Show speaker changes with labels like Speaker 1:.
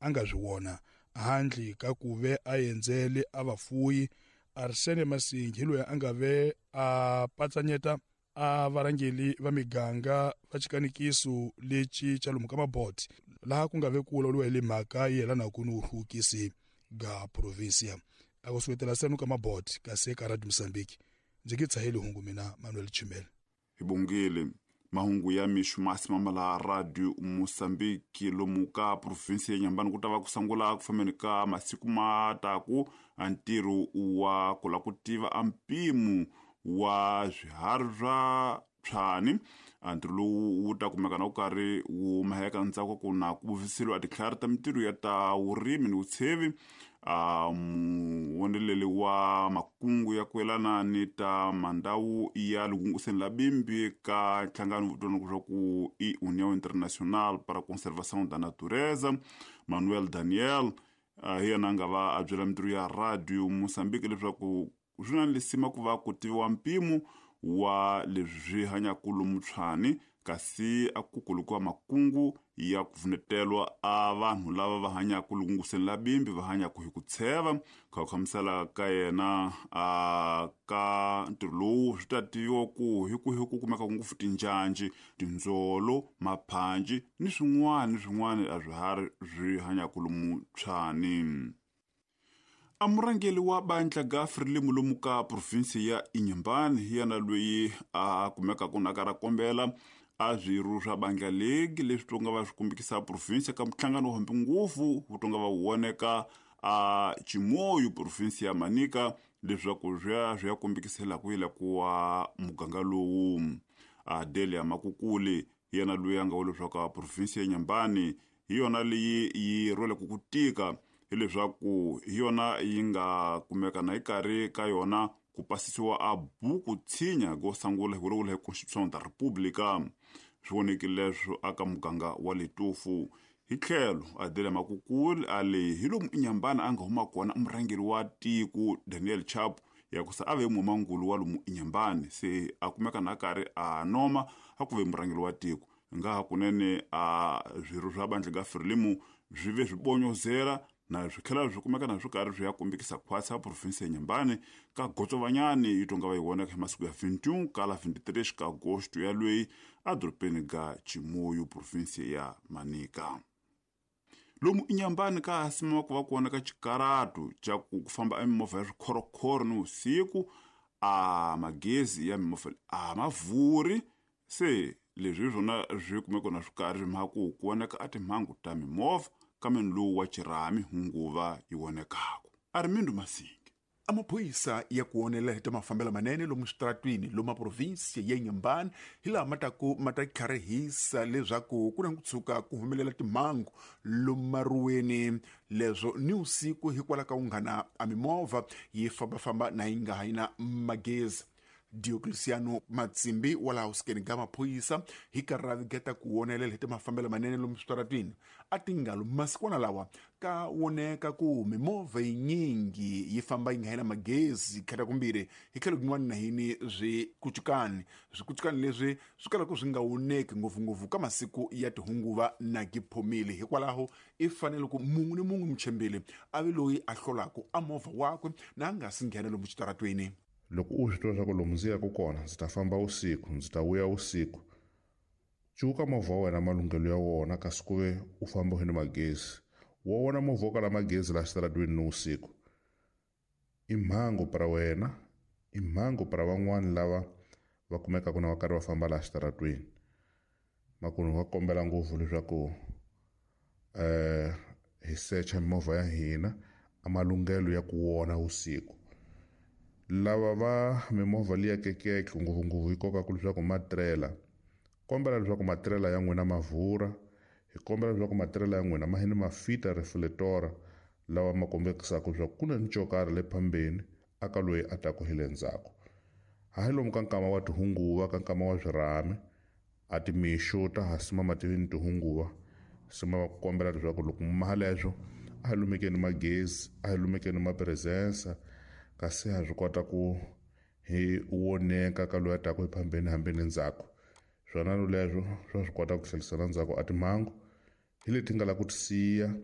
Speaker 1: a nga swi vona handle ka ku ve a endzele a vafuyi. Arsene Masingi hi loyi a nga ve a patsanyeta a varhangeli va miganga va xikanikiso lexi xa lomu ka maboti laha ku nga ve ku vulavuriwa hi le mhaka yi yelanaka ni vuhluvukisi ga provinsia. A ku suketela senu ka maboti kasi eka Radio Mozambique ndzi ki tshaheli hungu mina Manuel Chimele.
Speaker 2: Hi bongile mahungu ya mixo masi mamala Radio Mozambique. Lomu ka provinsi ya Nyambani ku ta va ku sungula ku fambeni ka masiku ma taku a ntirho wa ku lava ku tiva a mpimo wa swiharhi swa tshwani. A ntirho lowu wu ta kumeka na ku karhi wu maheka ntsako ku na ku vuviseliwa titlhari ta mintirho ya ta vurimi ni vutshevi. A muwoneleli wa makungu ya ku yelana ni ta mandhawu ya lugunguseni la bimbi ka nhlangano vutwana leswaku i União Internacional para a Conservação da Natureza, Manuel Daniel, hi yena a nga va a byela mintirho ya Radio Mozambique leswaku swi na lisima ku va ku tiviwa mpimo wa leswi swi hanyaka lomu tshwani, kasi a ku kulukiwa makungu ya ku pfunetelwa a vanhu lava va hanyaka lunguseni la bimbi va hanyaka hi ku tsheva. Kha ku hlamusela ka yena a ka ntirho lowu swi ta tiviwa ku hi ku hi ku kumeka ngopfu tinjanji, tindzolo, maphanji ni swin'wana ni swin'wana a swiharhi swi hanyaka lomu tshwani. A murhangeri wa bandla ga Frelimo lomu ka provinsi ya Inhambane hi yena loyi a kumekaka na ka ra kombela a swirho swa bandla legi leswi tonga va swi kumbikisa provinsi ka nhlangano wa hambi ngopfu wu tonga va wu voneka a Chimoio provinsi ya Manica leswaku swi ya swi ya kumbikisela ku yila ku wa muganga lowu. Adelia Makukuli hi yena loyi a nga vula leswaku provinsi ya Inhambane hi yona leyi yi rhweleke ku tika, hileswaku hi yona yi nga kumeka na yi karhi ka yona ku pasisiwa a buku tshinya go sungula hi vulavula hi Constitution da República. Swi vonekile leswo aka muganga wa Letofu. Hi tlhelo Adelia Makukuli a le hi lomu Inhambane a nga huma kona murhangeri wa tiko Daniel Chapo ya ku se a ve mumangulu wa lomu Inhambane, se a kumeka na karhi a noma a ku ve murhangeri wa tiko. Nga ha kunene a swirho swa bandla ga Frelimo swi ve swi bonyozela na swi tlhela swi kumeka na swi karhi swi ya kombekisa khwatsi ya provinsi ya Inhambane ka gotsovanyani yi tonga va yi vonaka hi masiku ya 21 kala 23 ka agosto ya lweyi a dorobeni ga Chimoio provinsi ya Manica. Lomu Inhambane ka ha simiwa ku va kona ka xikaratu xa ku famba a mimovha ya swikhorokhoro ni vusiku, a magezi ya mimovha a ma vuri. Se leswi hi swona swi kumeka na swi karhi swi mhaka ku ku voneka a timhangu ta mimovha kambe lowu wa xirhami hunguva yi vonekaka. Armindo Masingi.
Speaker 3: A maphorisa ya ku onela hi ta mafambelo manene lomu switaratwini lomu maprovinsi ya Inhambane hi laha ma taku ma ta tlharihisa leswaku ku na ku tshuka ku humelela timhangu lomu maruweni leswo ni usiku hikwalaho ka unghana a mimovha yi fambafamba na yi nga ha yi na magezi. Diocleciano Matsimbi wa laha usikeni ga maphorisa hi karhi ra vigeta ku wonelela hi ta mafambelo manene lomu switaratwini a tingalo masikwana lawa ka woneka ku mimovha yinyingi yi famba yi nga hela magezi khata kumbirhi hi tlhelo kun'wana na yini swikucukani swikucukani leswi swi kalaka swi nga woneki ngopfungopfu ka masiku ya tihunguva na giphomile. Hikwalaho i fanele ku mun'we ni mun'we muchembeli a ve loyi a hlolaka a movha wakwe na a nga si nghena lomu xitaratweni.
Speaker 4: Loko u swi tiva leswaku lomu ndzi yaka kona ndzi ta famba vusiku, ndzi ta vuya vusiku, cuka movha wa wena malunghelo ya wona kasi ku ve u famba ni magezi. Wa wona movha wo kala magezi laha xitaratweni ni vusiku i mhangu para wena, i mhangu para van'wani lava va kumekaka na va karhi va famba laha xitaratweni. Makunu va kombela ngopfu leswaku hi secha mimovha ya hina a malunghelo ya ku wona vusiku. Lava va mimovha liya kekeke ngopfungopfu yi kokaka leswaku matirela, kombela leswaku matirela ya n'wina ma vhura, hi kombela leswaku matirela ya n'wina ma hini ma fita reflector lawa ma kombekisaka leswaku ku na ni xo karhi le phambeni aka loyi a taku hi le ndzhaku. Hayi lomu ka nkama wa tihunguva ka nkama wa swirhami a timixo ta ha simama ti ni tihunguva, sima va ku kombela leswaku loko mi maha leswo a hi lumekeni magezi, a hi lumekeni mapresensa kasi ha swi kota ku hi woneka ka loyi a taku hi phambeni hambi ni ndzhaku. Swona leswo swa swi kota ku tlhelisela ndzhaku a timhangu hi leti nga la ku ti siya